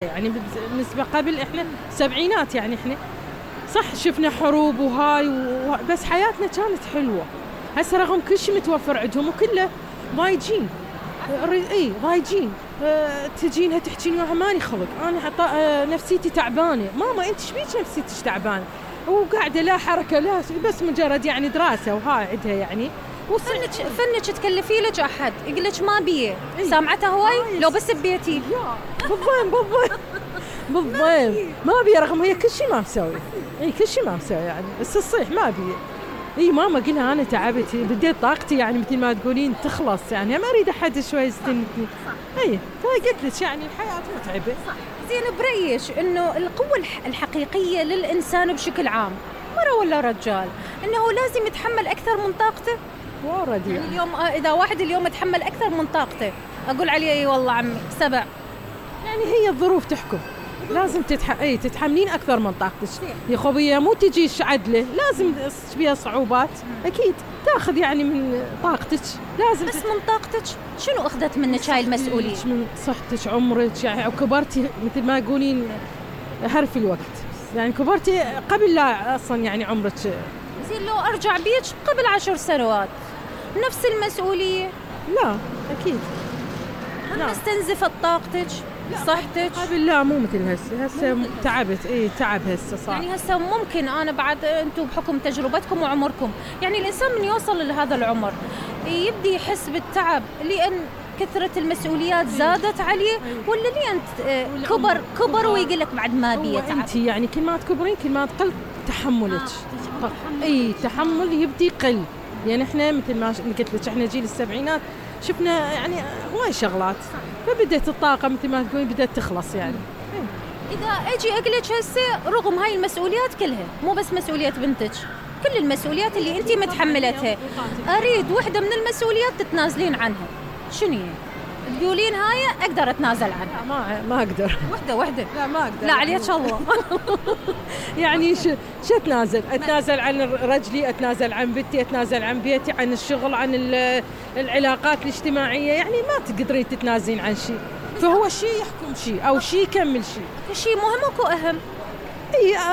يعني بالنسبة قبل إحنا سبعينات، يعني إحنا صح شفنا حروب وهاي بس حياتنا كانت حلوة. هسه رغم كل شيء متوفر عندهم وكله ضايجين، ضايجين. تجينها تحكين وياها ماني خلق، أنا نفسيتي تعبانة. ماما أنت شبيك نفسيتك تعبانة؟ وقاعدة لا حركة لا بس مجرد يعني دراسة وهاي عندها يعني. فنك تكلفي لك أحد يقول لك ما بيه، سامعتها هواي لو بس ببيتي بالضبط ما بيه، رغم هي كل شيء ما مسوي، كل شيء ما مسوي يعني، بس الصيح ما بيه. ماما قلها أنا تعبت، بديت طاقتي يعني مثل ما تقولين تخلص، يعني ما أريد أحد شوي يستنتني. فقلت لك يعني الحياة متعبة. زين، بريش إنه القوة الحقيقية للإنسان بشكل عام، مرة ولا رجال، إنه لازم يتحمل أكثر من طاقته. يعني اليوم إذا واحد اليوم يتحمل أكثر من طاقته أقول عليه والله عمي سبع. يعني هي الظروف تحكم، لازم تتحملين أكثر من طاقتك. يا خوية مو تجيش عدلة، لازم بيها صعوبات أكيد تأخذ يعني من طاقتك، لازم بس من طاقتك شنو أخذت منك هاي المسؤولية؟ من صحتك، عمرك يعني، وكبرتي مثل ما يقولين هرف الوقت، يعني كبرتي قبل لا أصلا يعني عمرك. زين لو أرجع بيك قبل 10 سنوات نفس المسؤولية؟ لا أكيد. هم استنزفت طاقتك صحتك؟ قبل لا مو مثل هسه تعبت. تعب هسه صار. يعني هسه ممكن أنا بعد أنتم بحكم تجربتكم وعمركم، يعني الإنسان من يوصل لهذا العمر يبدي يحس بالتعب لأن كثرة المسؤوليات زادت عليه، ولا لأن كبر ويقول لك بعد ما بيه تعب؟ أنت يعني كل ما تكبرين كل ما تقل تحملك. تحمل يبدي قل. يعني احنا مثل ما قلت لك احنا جيل السبعينات شفنا يعني هواي شغلات، فبدت الطاقة مثل ما تقولين بدت تخلص يعني. إذا أجي أقول لك هسه رغم هاي المسؤوليات كلها، مو بس مسؤولية بنتك، كل المسؤوليات اللي أنت متحملتها، أريد وحدة من المسؤوليات تتنازلين عنها، شنو تقولين هاي أقدر أتنازل عنها؟ ما أقدر. وحدة. لا ما أقدر. لا عليك الله. يعني شو أتنازل عن رجلي، أتنازل عن بنتي، أتنازل عن بيتي، عن الشغل، عن العلاقات الاجتماعية، يعني ما تقدرين تتنازلين عن شيء. فهو شيء يحكم شيء أو شيء يكمل شيء. شيء مهم وكو أهم.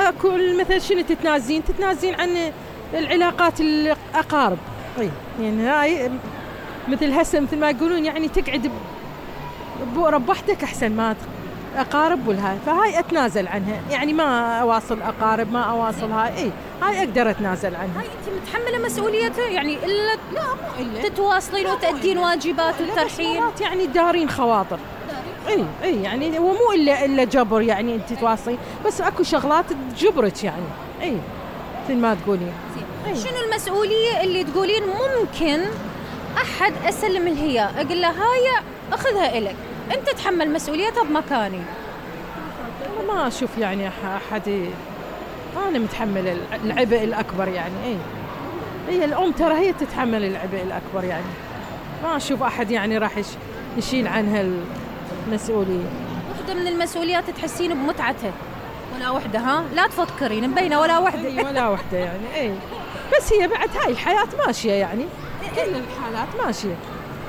أكل مثل شنو تتنازلين عن العلاقات الأقارب. يعني هاي مثل هسه مثل ما يقولون يعني تقعد بربحتك أحسن ما أقارب والهاي، فهاي أتنازل عنها، يعني ما أواصل أقارب، ما أواصل هاي أقدر أتنازل عنها. هاي أنت متحملة مسؤوليتها يعني إلا لا مو إلا تتواصلين وتأدين واجبات وترحين، يعني دارين خواطر. يعني هو مو إلا جبر يعني أنت تواصلين، بس أكو شغلات تجبرك يعني. مثل ما تقولين. شنو المسؤولية اللي تقولين ممكن أحد أسلم الهي أقول له هاي أخذها إلك، أنت تحمل مسؤوليتها بمكاني؟ أنا ما أشوف يعني أحد. أنا متحمل العبء الأكبر يعني. هي الأم ترى هي تتحمل العبء الأكبر يعني، ما أشوف أحد يعني راح يشيل عنها المسؤولية. وحدة من المسؤوليات تحسين بمتعتها ولا وحدة؟ ها لا تفكرين مبينة ولا وحدة. ولا وحدة يعني. بس هي بعد هاي الحياة ماشية يعني، كل الحالات ماشية.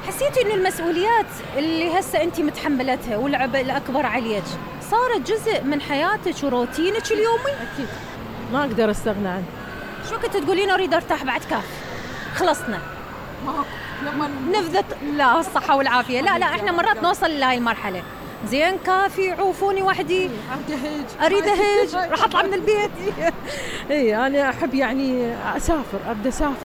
حسيتي إنه المسؤوليات اللي هسه أنت متحملتها والعبء الأكبر عليك صارت جزء من حياتك وروتينك اليومي؟ أكيد ما أقدر أستغنى عنه. شو كنت تقولين أريد أرتاح بعد كاف؟ خلصنا نفذت. لا الصحة والعافية. لا إحنا مرات نوصل لهاي المرحلة. زين كافي عوفوني وحدي، أريد أهج راح أطلع من البيت. أنا أحب يعني أسافر، أبدأ أسافر